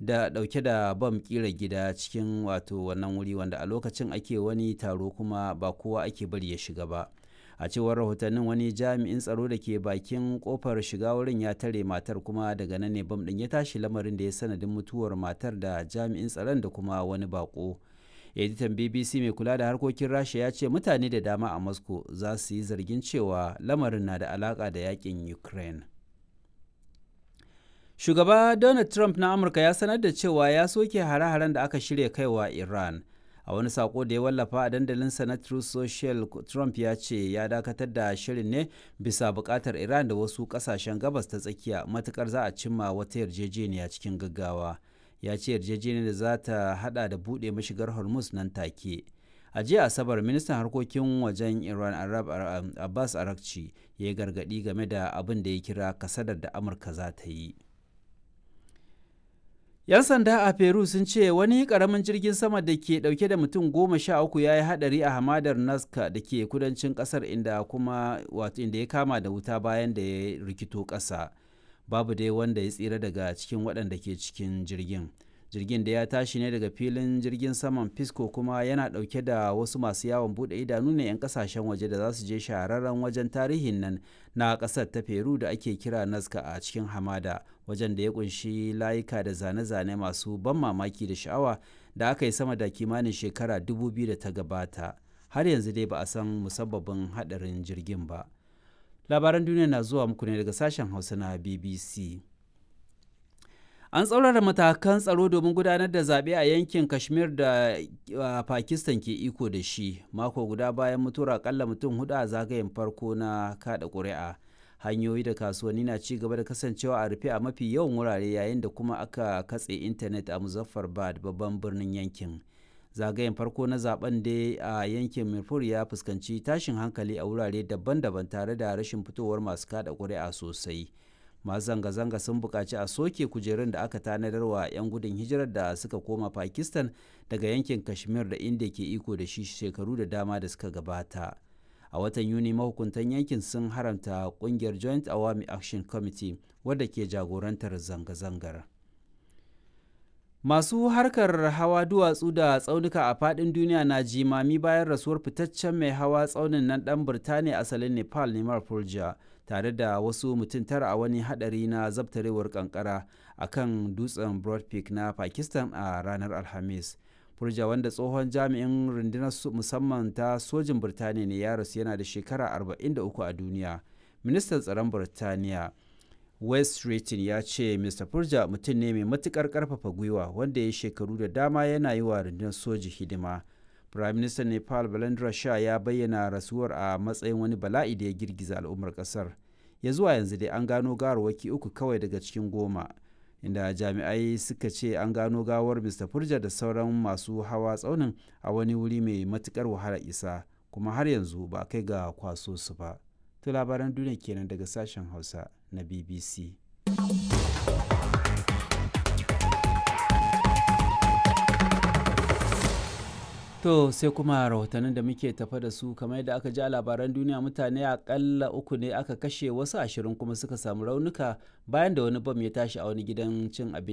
Da dauke da bam kira gida cikin wato wannan wuri wanda a lokacin ake wani taro kuma ba kowa ake bari ya shiga ba. A cewar rahotannin, wani jami'in tsaro da ke bakin kofar shiga wurin ya tare matar, kuma daga nan ne bam din ya tashi, lamarin da ya sanadin mutuwar matar da jami'in tsaron da kuma wani bako. Editan BBC mai kula da harkokin Rasha ya ce mutane da dama a Moscow za su yi zargin cewa lamarin na da alaka da yakin Ukraine. Shugaba Donald Trump na Amurka ya sanar da cewa ya soke hare-haren da aka shirya kaiwa Iran. A wani sako da ya wallafa a dandalinsa na Truth Social, Trump ya ce ya dakatar da shirin ne bisa bukatar Iran da wasu kasashen Gabas ta Tsakiya, matukar za a cimma wata yarjejeniya cikin gaggawa. Ya ce yarjejeniyar za ta hada da buɗe mashigar Hormuz nan take. A jiya Asabar, ministan harkokin wajen Iran Arab Abbas Arakci ya yi gargaɗi game da abin da ya kira kasadar da Amurka za ta yi. 'Yan sanda a Peru sun ce wani karamin jirgin sama da ke dauke da mutum 13 ya yi hadari a hamadar Nazca da ke kudancin kasar, inda kuma wato inda ya kama da wuta bayan da ya rikito kasa. Babu dai wanda ya tsira daga cikin waɗanda ke cikin jirgin. Jirgin da ya tashi ne daga filin jirgin saman Pisco kuma yana ɗauke da wasu masu yawon buɗe idanu ne 'yan kasashen waje da za su je shahararren wajen tarihin nan na ƙasar ta Peru da ake kira Nazca a cikin hamada, wajen da ya kunshi layuka da zane-zane masu ban mamaki da sha'awa da aka yi sama da kimanin shekara 2000 da ta gabata. Har yanzu dai ba a san musabbabin haɗarin jirgin ba. Labaran duniya na zuwa muku ne daga sashen Hausa na BBC. An tsaurara matakan tsaro domin gudanar da zaɓe a yankin Kashmir da Pakistan ke iko da shi, mako guda bayan mutuwar akalla mutum hudu a zagayen farko na kada ƙuri'a. Hanyoyi da kasuwanni na ci gaba da kasancewa a rufe a mafi yawan wurare, yayin da kuma aka katse intanet a Muzaffarabad, babban birnin yankin. Zagayen farko na zaben dai a yankin Mirpur ya fuskanci tashin hankali a wurare daban-daban tare da rashin fitowar masu kada ƙuri'a sosai. Masu zanga-zanga sun buƙaci a soke kujerun da aka tanadar wa 'yan gudun hijirar da suka koma Pakistan daga yankin Kashmir da India ke iko da shi shekaru da dama da suka gabata. A watan Yuni, mahukuntan yankin sun haramta kungiyar Joint Awami Action Committee wadda ke jagorantar zanga-zangar. Masu harkar hawa duwatsu da tsaunuka a faɗin duniya na jimami bayan rasuwar fitaccen mai hawa tsaunin nan ɗan Birtaniya asalin Nepal, Neymar Purja, tare da wasu mutum 9 a wani hadari na zabtarewar kankara a kan dutsen Broad Peak na Pakistan a ranar Alhamis. Purja, wanda tsohon jami'in rundunar musamman ta sojin Birtaniya ne, ya rasu yana da shekara 43 a duniya. Ministan tsaron Birtaniya West Streeting ya ce Mr. Purja mutum ne mai matukar karfafa gwiwa wanda ya shekaru da dama yana yi wa rundunar soji hidima. Prime Minister Nepal Balendra Shah ya bayyana rasuwar a matsayin wani bala'i da ya girgiza al'ummar kasar. Ya zuwa yanzu dai an gano gawarwaki uku kawai daga cikin 10, inda jami'ai suka ce an gano gawar Mr. Purja da sauran masu hawa tsaunin a wani wuri mai matukar wahala isa, kuma har yanzu ba kai ga kwaso su ba. To labaran duniya kenan daga sashen Hausa na BBC. To sai kuma rahotannin da muke tafa da su. Kamar yadda aka ji a labaran duniya, mutane akalla uku ne aka kashe, wasu 20 kuma suka samu raunuka bayan da wani bam ya tashi a wani gidan cin abinci.